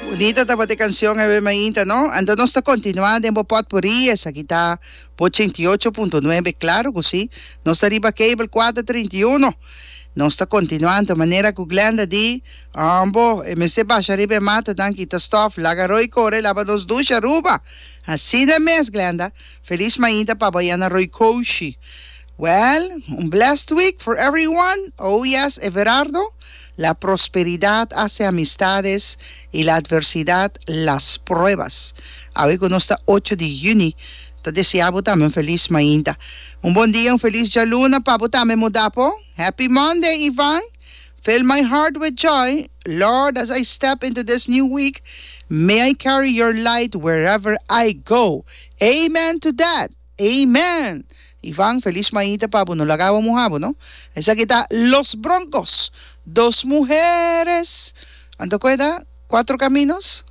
Bunita tabata e cancion awe mainta, no? Anto nos ta continua den bo potpourri, esaki ta bo 88.9, claro cu si. Nos ta riba cable 431. Nos ta continua anto manera cu Glenda di, Ambo, e mester basha riba e matanan, kita stof, laga Roy core, laba nos dushi Aruba. Asina mes, Glenda. Feliz mainta pa bo ayá na Roy Koushi. Well, un blessed week for everyone. Oh yes, Everardo, la prosperidad hace amistades y la adversidad las pruebas. Awe cu nos ta ocho di juni, ta desea bo tambe un feliz mainta. Un bon dia, un feliz djaluna pa bo tambe Modapo. Happy Monday, Ivan. Fill my heart with joy, Lord, as I step into this new week, may I carry your light wherever I go. Amen to that. Amen! Ivan, feliz mainta pa bo, no laga awa muha bo, no? Esaki ta Los Broncos, Dos Mujeres. Anto cu e ta? Cuatro Caminos?